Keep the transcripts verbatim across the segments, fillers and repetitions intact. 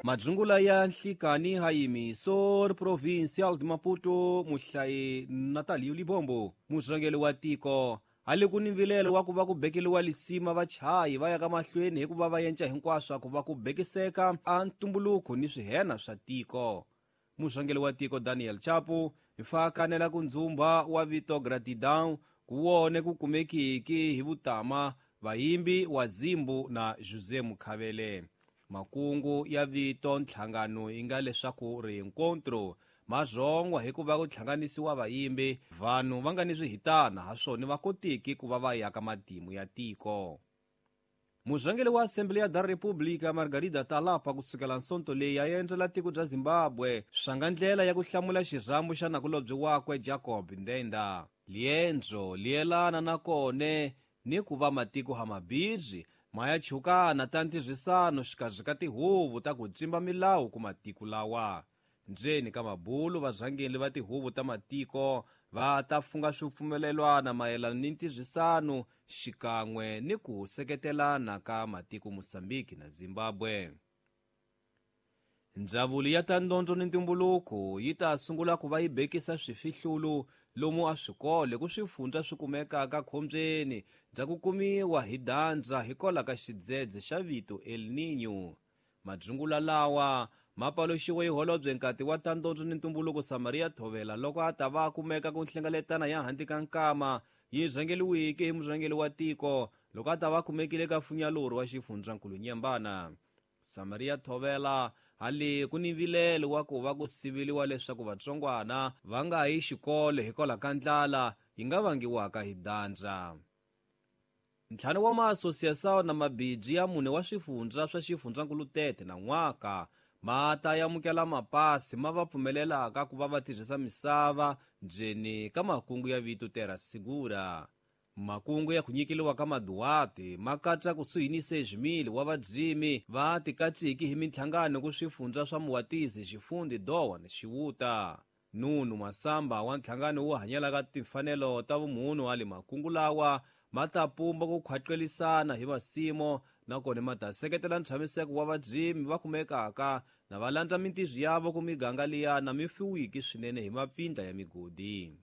Madzungula ya nhlikani hayimiso provincial de Maputo muhlayi Natalio Libombo murhangeri wa tiko hali ku ni mvilelo wa ku va ku bekeliwa lisima vachayi va ya ka mahlweni hikuva va yenca hinkwaswo ku va ku bekiseka a ntumbuluko ni swihena swa tiko. Murhangeri wa tiko Daniel Chapo hi fa kanela ku ndzumba wa vito Gratidão ku wone ku kumekiki hi vutama vayimbi wa Zimbu na José Mukhavele. Makungu ya vito nhlangano yi nga leswaku reencontro mazongwa hikuva ku hlanganisiwa vayimbi vanhu va nga ni swihitana ha swona va kotiki ku va va ya ka matimu ya tiko. Murhangeri wa Assembleia da República Margarida Talapa kusukela nsonto leyi ya endzela tiko bya Zimbabwe swanga ndlela ya ku hlamula xirhambo xa nakulobye wakwe Jacob Ndenda. Liendzo lielana na kone ni ku va matiko hamabirhi ma ya chukana ta ntirhisano xikarhi ka tihuvo ta ku tsimba milawu ku matiko lawa. Ndzeni ka mabulu varhangeri va tihuvo ta matiko va ta funga swipfumelelwana mayelana ni ntirhisano xikan'we ni ku seketelana ka matiko Mozambique na Zimbabwe. Ndzawulo ya ta ndondzo ni ntumbuluko yi ta sungula ku va yi bekisa swifihlulu lomu a swikolo ku swifundza swi kumekaka khombyeni bya ku kumiwa hi dandza hikwalaho ka xidzedze xa vito El Niño. Madzungula lawa ma paluxiwe hi holobye nkati wa ta ndondzo ni ntumbuluko Samaria Thovela loko a ta va kumeka ku nhlengeletana ya handle ka nkama yi rhangeliweke hi murhangeri wa tiko loko a ta va kumekile ka funyalori wa xifundzankulu Nyembana. Samaria Thovela hali ku ni vilelo wa ku va ku siveliwa leswaku vatsongwana va nga yi xikolo hikwalaho ka ndlala yi nga vangiwaka hi dandza. Ntlhanu wa maasosiasawu na mabiji ya mune wa swifundza swa xifundzankulu Tete na n'waka ma ta amukela mapasi ma va pfumelelaka ku va va tirhisa misava ndzeni ka makungu ya vito Terra Segura. Makungu ya ku nyikeliwa ka maduwati ma katsa kusuhi ni sejimili wa vadzimi va tikatsiki hi minhlangano ku swifundza swa Muwatizi, Xifundi, Dowa na Xiwuta. Nunu Masamba wa nhlangano wo hanyelaka timfanelo ta vumunhu ali makungu lawa ma ta pumba ku khwaqelisana hi masimo nakona ma ta seketela ntshamiseko wa vadzimi va kumekaka na va landza mintirho yavo ku miganga liya na mifuwiki swinene hi mapfindla ya migodi.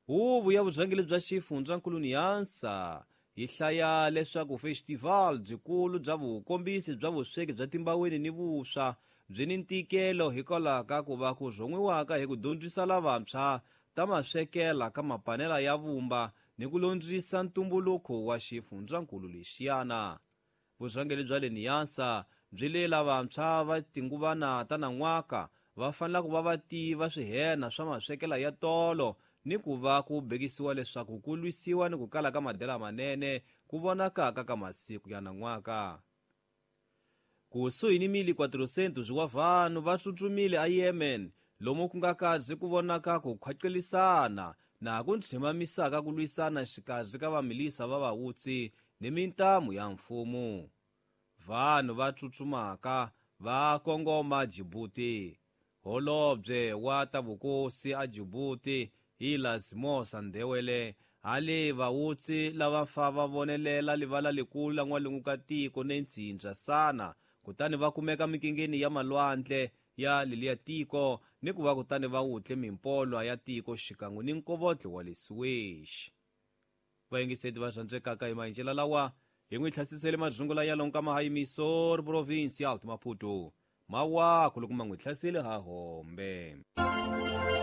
Huvo ya vurhangeri bya xifundzankulu Nyanza yi hlaya leswaku festival byikulu bya vukombisi bya vusweki bya timbaweni ni vuswa byi ni ntikelo hikwalaho ka ku va ku rhon'wiwaka hi ku dyondzisa lavantshwa ta maswekela ka mapanela ya vumba ni ku londzisa ntumbuluko wa xifundzankulu lexiyana. Vurhangeri bya le Nyanza byi le lavantshwa va tinguvana ta nan'waka va fanele ku va va tiva swihena swa maswekela ya tolo ni ku va ku bekisiwa leswaku ku lwisiwa ni ku kala ka madela manene ku vonakaka ka masiku ya nan'waka. Kusuhi ni mili quatrocentos wa vanhu va tsutsumile a Yemen lomu ku nga kazi ku vonaka ku khwaqelisana na ku ntshimamisaka ku lwisana xikarhi ka vamilisa va vawutsi ni mintamu ya mfumo. Vanhu va tsutsumaka va kongoma Djibouti. Holobye wa ta vukosi a Djibouti Ilas Mosa Ndewele hali vawutsi lava fa va vonelela livala likulu la n'walungu ka tiko ne ntsindza sana kutani va kumeka mikingeni ya malwandle ya leliya tiko ni ku va kutani va wutle mimpolwa ya tiko xikan'we ni nkovotlo wa le Suez. Vayingiseti va rhandzekaka hi maendlelo lawa hi n'wi hlasisele madzungula ya lonka mahayimiso provincial Maputo mawaku loko ma n'wi hlasele ha hombe.